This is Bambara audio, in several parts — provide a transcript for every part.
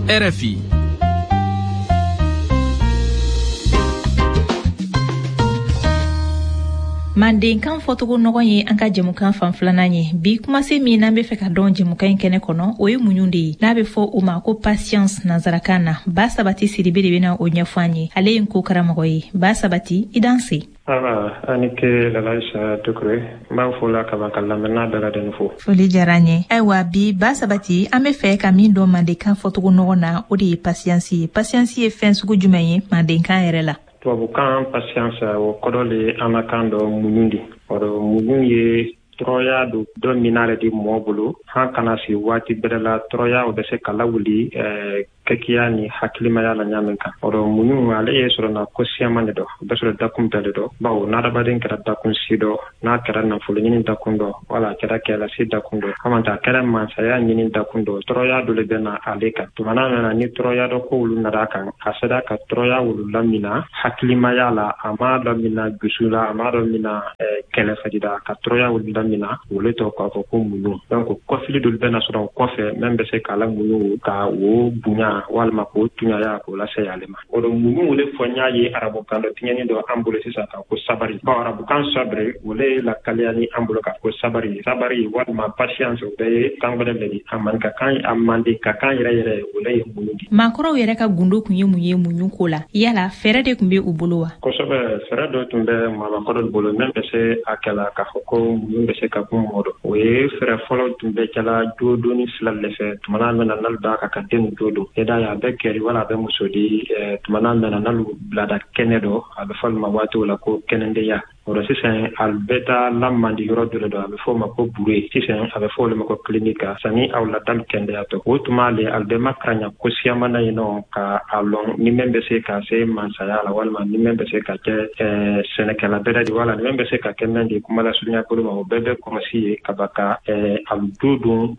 RFI. Mandenkan fɔcogo nɔgɔn ye an ka jɛmukan fan filanan ye. Bi kumasen min n'an bɛ fɛ ka dɔn jɛmukan in kɛnɛ kɔnɔ, o ye muɲu de ye, n'a bɛ fɔ o ma ko patience nansarakan na. Ba Sabati Sidibe de bɛna o ɲɛfɔ an ye. Ale ye n ko karamɔgɔ ye. Ba Sabati, i danse. Awa, a ni ke Lalaisa Dukure. N b'aw fo la kaban ka lamɛnna bɛɛ lajɛlen fo. Foli diyara an ye. Ayiwa, bi Ba Sabati, an bɛ fɛ ka min dɔn mandenkan fɔcogo nɔgɔn na, o de ye patience ye. Patience ye fɛn sugu jumɛn ye mandenkan yɛrɛ la? Tubabukan patience, o kɔrɔ le ye an na kan dɔ muɲu di. O rɔ muɲu ye tɔrɔya don dɔ mina le di mɔɔ bolo han kana sigi waati bɛrɛ la. Tɔrɔya o bɛ se ka lawuli kɛkiya ni hakilimaya la ɲa min kan. O rɔ muɲu ale ye sɔrɔna ko siyaman de dɔ, o bɛ sɔrɔ dakun bɛɛ le dɔ, bawo n'adamaden kɛra dakun si dɔ, n'a kɛra nafolo ɲini dakun dɔ, wala a kɛra kɛlasi dakun dɔ, hamanta a kɛra mansaya ɲini dakun dɔ, tɔrɔya dɔ le bɛ na ale kan. Tumana min na ni tɔrɔya dɔ ko olu nara a kan, a sera ka tɔrɔya olu lamina hakilimaya la, a m'a lamina dusu la, a m'a lamina kɛlɛfadi la, ka tɔrɔya olu lamina, o le tɔ k'a fɔ ko muɲu. Donc kɔfili dɔ bɛna sɔrɔ o kɔfɛ min bɛ se k'a la muɲu ka o bonya walima k'o tuɲaya k'o lase ale ma. O dɔ muɲu o le fɔ n y'a ye arabukan dɔ tiɲɛni dɔ an bolo sisan ka ko sabari, bawo arabukan sabri o le ye lakaliya ni an bolo ka ko sabari. Sabari walima patience, o bɛɛ ye kan gbɛrɛ le di. A maninka kan, a manden ka kan yɛrɛ yɛrɛ, o le ye muɲu di. Maakɔrɔw yɛrɛ ka gundo tun ye mun ye muɲu ko la? Yala fɛɛrɛ de tun bɛ u bolo wa? Kosɛbɛ, fɛɛrɛ dɔ tun bɛ maabakɔrɔw bolo min bɛ se a kɛla k'a fɔ ko muɲu bɛ se ka kun mɔgɔ dɔ. O ye fɛɛrɛ fɔlɔ tun bɛ kɛla jodonni sila le fɛ. Tumana min na n'alu b'a kan ka den jodon, i d'a ye a bɛ kɛri wala a bɛ muso di. Tumana min na n'alu bilada kɛnɛ dɔ, a bɛ fɔ olu ma waati o la ko kɛnɛdenya. O rɔ sisan alu bɛ taa lamandi yɔrɔ dɔ le dɔ, a bɛ fɔ o ma ko bure, sisan a bɛ fɔ olu ma ko clinique, sani aw la dalu kɛndɛya tɔ. O tuma le alu bɛ makaranya ko siyaman na yen nɔ ka a lɔn ni mɛn bɛ se ka se mansaya la, walima ni mɛn bɛ se ka kɛ sɛnɛkɛla bɛrɛ di, wala ni mɛn bɛ se ka kɛ mɛn di kuma lasurunya bolo ma. O bɛɛ bɛ kɔlɔsi ye ka ban ka alu jodon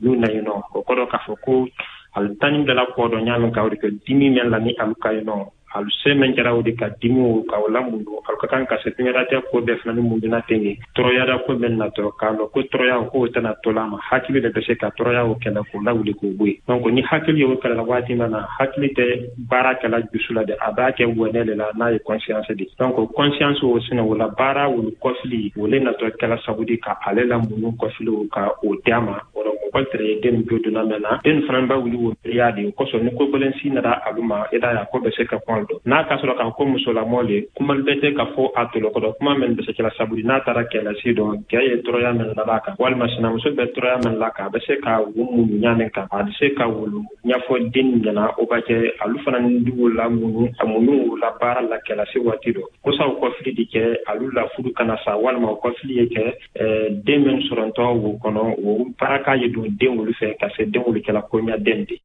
muɲu na yen nɔ. O kɔrɔ k'a fɔ ko alu tanni bɛɛ la kɔ dɔ ɲa min kan, o de kɛ dimi mɛn la ni alu ka yen nɔ, alu se mɛn kɛra o de ka dimiw ka o lamuɲu. Alu ka kan ka se tuɲaratɛ ko bɛɛ fana ni muɲuna ten ye. Tɔrɔyara ko mɛn natɔ k'a lɔn ko tɔrɔya k'o tɛna to la ma, hakili de bɛ se ka tɔrɔya o kɛlɛ k'o lawuli k'o bɔ yen. Donc ni hakili y'o kɛlɛ la waati min na, hakili tɛ baara kɛla dusu la dɛ, a b'a kɛ wɛnɛ de la n'a ye conscience di. Donc conscience o sinɛ o la baara wolu kɔfili o le natɔ kɛla sabu di ka ale la muɲu kɔfili ka o di a ma. O rɔ mɔgɔ tɛrɛ ye den jo donna mɛn na, den fana b'a wuli o miiriya de. O kosɔn ni ko gbɛlɛn si nana alu ma, i d'a ye a ko bɛ se ka kɔn dɔn. N'a ka sɔrɔ k'a ko musolamɔ le, kuma bɛ tɛ ka fɔ a tolokɔrɔ, kuma min bɛ se kɛla sabu di n'a taara kɛlɛsi dɔ, kɛ ye tɔrɔya min la kan, walima sinamuso bɛ tɔrɔya min la kan, a bɛ se ka wo muɲu ɲa min kan, a bɛ se ka wolu ɲɛfɔ den ɲɛna. O b'a kɛ alu fana ni dugu la muɲu, a muɲu la baara la kɛlɛsi waati dɔ kosa o kɔfili di kɛ alu la furu kana sa, walima o kɔfili ye kɛ den min sɔrɔntɔ wo kɔnɔ, o baraka ye don den wolu fɛ ka se den wolu kɛla koɲa den de.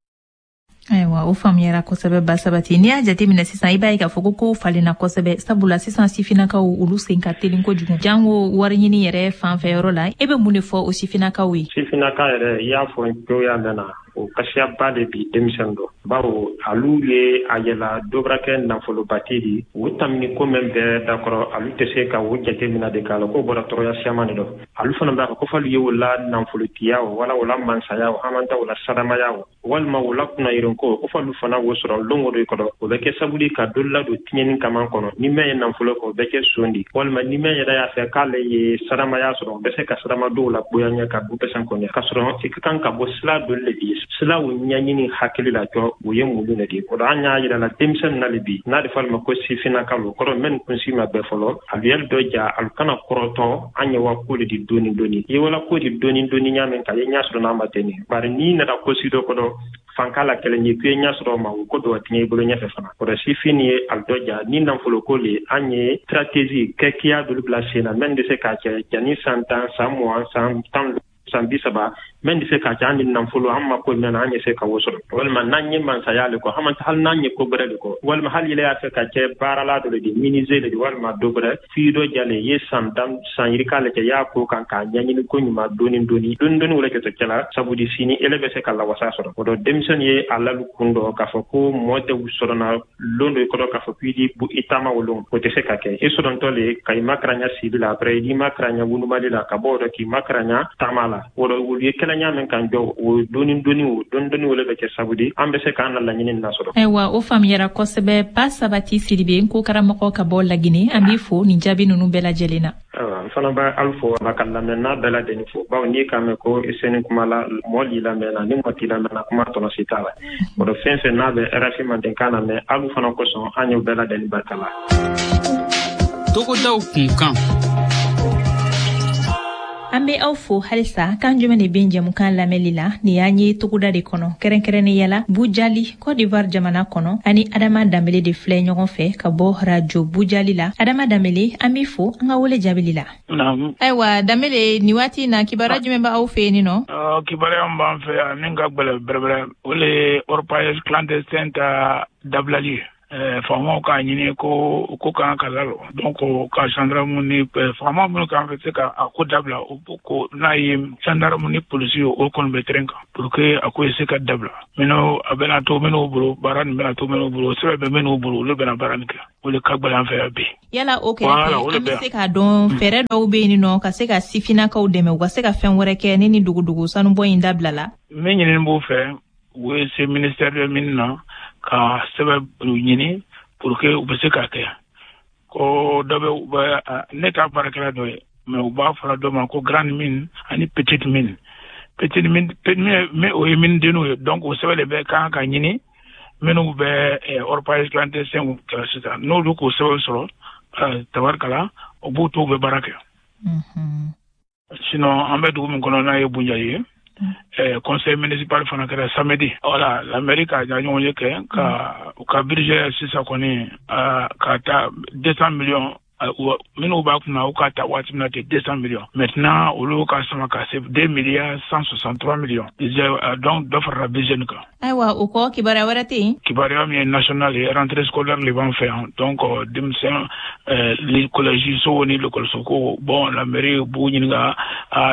Ayiwa, o faamuyara kosɛbɛ Ba Sabati. N'i y'a jateminɛ sisan, i b'a ye k'a fɔ ko kow falenna kosɛbɛ, sabula sisan sifinnakaw olu sen ka telin kojugu, jango wari ɲini yɛrɛ fanfɛ yɔrɔ la. E bɛ mun de fɔ o sifinnakaw ye? Sifinnaka yɛrɛ, i y'a fɔ cogoya mɛn na, o kasiyaba de bi denmisɛn dɔ, bawo alu ye a yɛla dɔ bara kɛ nafolobati di. O tamini ko mɛn bɛɛ dakɔrɔ, alu tɛ se ka o jate mina de k'a la k'o bɔra tɔrɔya siyaman de dɔ. Alu fana b'a fɔ ko f'alu ye o la nafolotiya o, wala o la mansaya o, hamanta o la sadamaya o, walima o la kunnayirinko, ko f'alu fana wo sɔrɔ lon o do kɔrɔ. O bɛ kɛ sabu di ka dɔ ladon tiɲɛni kaman kɔnɔ. Ni mɛn ye nafolo kɔ, o bɛ kɛ son di, walima ni mɛn yɛrɛ y'a fɛ k'ale ye sadamaya sɔrɔ, o bɛ se ka sadama dɔw la goya ɲɛ ka du pɛsɛn kɔnɔ, k'a sɔrɔ i ka kan ka bɔ sila dɔ le di. Sila o ɲɛɲini hakili la jɔ, o ye muɲu le di. O la an y'a yira la denmisɛnnin na le bi, n'a de fɔ ma ko sifinnaka lo, kɔrɔ mɛn kunsi ma bɛɛ fɔlɔ, alu y'alu dɔ ja, alu kana kɔrɔtɔ. An ye wa ko le di doni doni, i ye wala ko di doni doni ɲa min kan, i ye ɲa sɔrɔ n'a ma tɛ nin. Bari n'i nana ko si dɔ kɔrɔ fanka la kɛlɛ ɲɛ k'i ye ɲa sɔrɔ o ma, o ko dɔ tiɲɛ i bolo ɲɛfɛ fana. O rɔ sifin ye alu dɔ ja ni nafolo ko le, an ye stratégie kɛkiya dolu bila sen na mɛn bɛ se k'a kɛ jani san 10, san 20, san 10, san 30, mɛn bɛ se k'a kɛ an ni nafolo an ma ko mɛn na an ye se ka wo sɔrɔ, walima n'an ye mansaya le kɔ, hali n'an ye ko gbɛrɛ le kɔ, walima hali yɛlɛ y'a fɛ ka kɛ baarala dɔ le di, menuisier le di, walima dɔ gbɛrɛ f'i dɔ jale ye san 10, san yirika le kɛ y'a ko kan k'a ɲɛɲini ko ɲuman doni doni doni doni, wala kɛtɔ kɛla sabu di sini ele bɛ se ka lawasa sɔrɔ. O dɔ denmisɛnnin ye a lalu kun dɔ k'a fɔ ko mɔɔ tɛ sɔrɔ na lon dɔ i kɔrɔ k'a fɔ k'i di i taama o lon, o tɛ se ka kɛ. I sɔrɔntɔ le ka i makaranya sibi la, après i makaranɲa wulumali la, ka bɔ o dɔ k'i makaranya taama la. la. O rɔ olu ye kɛlɛɲa min kan jɔ o doni doni o doni doni o le bɛ kɛ sabu di an bɛ se k'an na laɲini nasɔrɔ. Ayiwa, o faamuyara kosɛbɛ. Pa Sabati Sidibe, n ko karamɔgɔ ka bɔ Lagine, an b'i fo nin jaabi ninnu bɛɛ lajɛlen na. Ayiwa, n fana bɛ alu fo, a ka lamɛnna bɛɛ lajɛlen fo, bawo n'i k'a mɛn ko i seni kuma la, mɔɔ l'i lamɛnna, ni mɔɔ t'i lamɛnna, kuma tɔnɔ si t'a la. O dɔ fɛn fɛn n'a bɛ RFI mandenkan na mɛn, alu fana kosɔn, an y'o bɛɛ lajɛlen barika la. Togodaw kunkan. An be aw fo halisa. Kan jumɛn de ben jɛmukan lamɛnli la? Nin y'an ye togoda de kɔnɔ, kɛrɛnkɛrɛnnenya la Bujali, Côte d'Ivoire jamana kɔnɔ. Ani Adama Danbele de filɛ ɲɔgɔn fɛ ka bɔ Radio Bujali la. Adama Danbele, an b'i fo an ka wele jaabili la. Ayiwa Danbele, nin waati na, kibaruya jumɛn b'aw fɛ yen nɔ? Kibaruya min b'an fɛ yan min ka gwɛlɛ bɛrɛbɛrɛ, o le ye orpaillage clandestin ta dabilali ye. Faamaw k'a ɲini ko ko kan ka lalɔ, donc ka gendarme ni faama minnu kan bɛ se ka a ko dabila, o ko n'a ye gendarme ni polisi ye, o kɔni bɛ terrain kan pour que a ko ye se ka dabila. Minnu a bɛna to minnu bolo, baara nin bɛna to minnu bolo, sɛbɛn bɛ minnu bolo, olu bɛna baara nin kɛ. O de ka gɛlɛn an fɛ yan bi. Yala o kɛrɛfɛ, an bɛ se k'a dɔn fɛɛrɛ dɔw bɛ yen nɔ ka se ka sifinnakaw dɛmɛ u ka se ka fɛn wɛrɛ kɛ ni dogodogo sanubɔ in dabila la? Min ɲinini b'u fɛ, u ye se ministère de mine na ka sɛbɛn ɲini pour que u bɛ se k'a kɛ. Ko dɔ bɛ u bɛ, ne t'a baarakɛla dɔ ye, mais u b'a fɔra dɔ ma ko grande mine ani petite mine. Petite mine, o ye mine denninw ye. Donc o sɛbɛn de bɛ kan ka ɲini minnu bɛ orpaillage clandestin kɛra sisan. N'olu k'o sɛbɛn sɔrɔ, tabarikala, o b'u to u bɛ baara kɛ. Sinon an bɛ dugu min kɔnɔ n'a ye Bunjali ye, conseil municipal fana kɛra samedi. Voilà, la mairie ka ɲɔgɔn ye kɛ ka u ka budget sisan kɔni ka taa 200 millions minnu b'a kunna, u ka ta waati min na ten 200 millions, maintenant olu ka sama ka se 2 milliards 163 millions, donc dɔ farala budget nin kan. Ayiwa, o kɔ, kibaruya wɛrɛ tɛ yen? Kibaruya min ye national ye, rentrée scolaire le b'an fɛ yan. Donc denmisɛn collège so ni l'école so ko, bon, la mairie b'u ɲininka,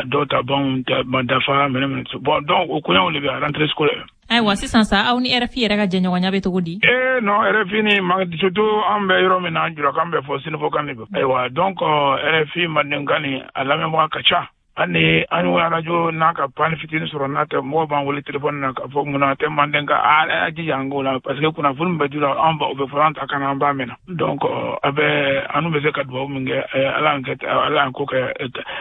dɔw ta banw ma dafa minɛ. Bon, donc o koɲaw de bɛ rentrée scolaire. Ayiwa, sisan sa, aw ni RFI yɛrɛ ka jɛɲɔgɔnya bɛ cogo di? Eh non, RFI ni surtout an bɛ yɔrɔ min na, julakan bɛ fɔ, sɛnɛfɔkan de bɛ. Ayiwa, donc RFI mandenkan ni a lamɛnbaga ka ca. Hali an ye arajo n'a ka panne fitinin sɔrɔ, n'a tɛ, mɔgɔw b'an wele téléphone na k'a fɔ munna tɛ mandenkan. A jija an k'o la, parce que kunnafoni bɛ di la an ba, o bɛ fɔlɔ an ta kan, an b'a mɛn. Donc a bɛ an bɛ se ka dugawu min kɛ, Ala y'an kɛ, Ala y'an ko kɛ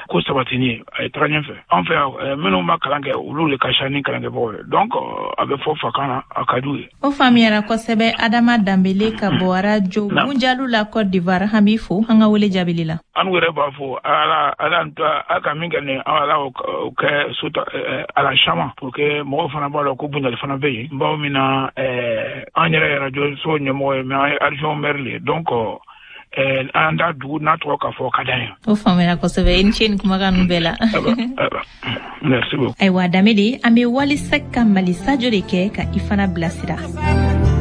ko sabatini ye, a ye taga ɲɛfɛ. An fɛ yan, minnu ma kalan kɛ, olu de ka ca ni kalankɛbagaw ye. Donc a bɛ fɔ fakan na, a ka d'u ye. O faamuyara kosɛbɛ. Adama Danbele ka bɔ Radio Bunjalu la, Côte d'Ivoire, an b'i fo an ka wele jaabili la. An yɛrɛ b'a fɔ Ala, Ala a ka min kɛ nin, Ala o kɛ suta ala caman pour que mɔgɔw fana b'a dɔn ko Bunjali fana bɛ yen. Bawo min na, an yɛrɛ radio so ɲɛmɔgɔ ye, mais an ye adjoint maire le ye, donc an da dugu n'a tɔgɔ ka fɔ ka d'an ye. O faamuyara kosɛbɛ. I ni ce nin kumakan ninnu bɛɛ la. Merci beaucoup. Ayiwa Danbele, an bɛ Wali Sek ka Mali Sajo de kɛ ka i fana bilasira.